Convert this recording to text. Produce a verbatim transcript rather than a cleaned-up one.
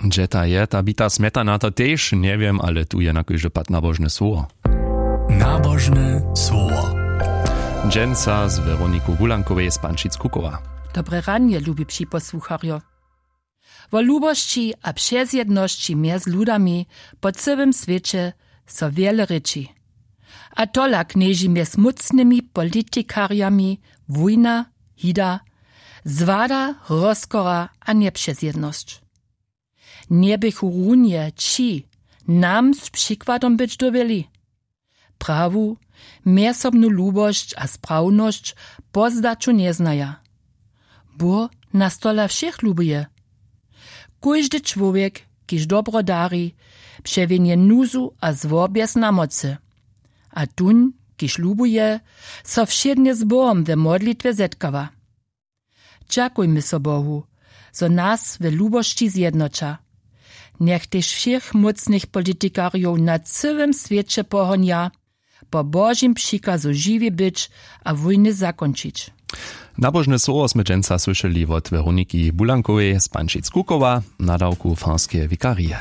Hdźe ta je ta bita smjetana, to tež njewěm, ale tu je na kóždy pad nabožne słowo. Nabožne słowo. Dźensa z Weroniku Wulankowej z Pančic Kukowa. Dobre ranje, lubi připosłucharjo. Wo lubosći a přezjednosći mjez ludami po cyłym swěće so wjele rěči. A tola knježi mjez mócnymi politikarjami wójna, hida, zwada, rozkora a njepřezjednosć. Njeběchu runje ći nam z přikładom być dyrbjeli? Prawu, mjezsobnu lubosć a sprawnosć po zdaću njeznaja. Bóh nas tola wšěch lubuje. Kóždy čłowjek, kiž dobro dari, přewjenje nuzu a zło bjez namocy. A tón, kiž lubuje, so wšědnje z Bohom we modlitwje zetkawa. Dźakujmy so Bohu, zo nas we lubosći zjednoća. Njech tež wšěch mócnych politikarjow na cyłym swěće pohonja, po Božim přikazu žiwi być a wójny zakónčić. Nabožne słowo smy dźensa słyšeli wot Weroniki Bulankowej z Pančic Kukowa, nadawku farskeje wikarije.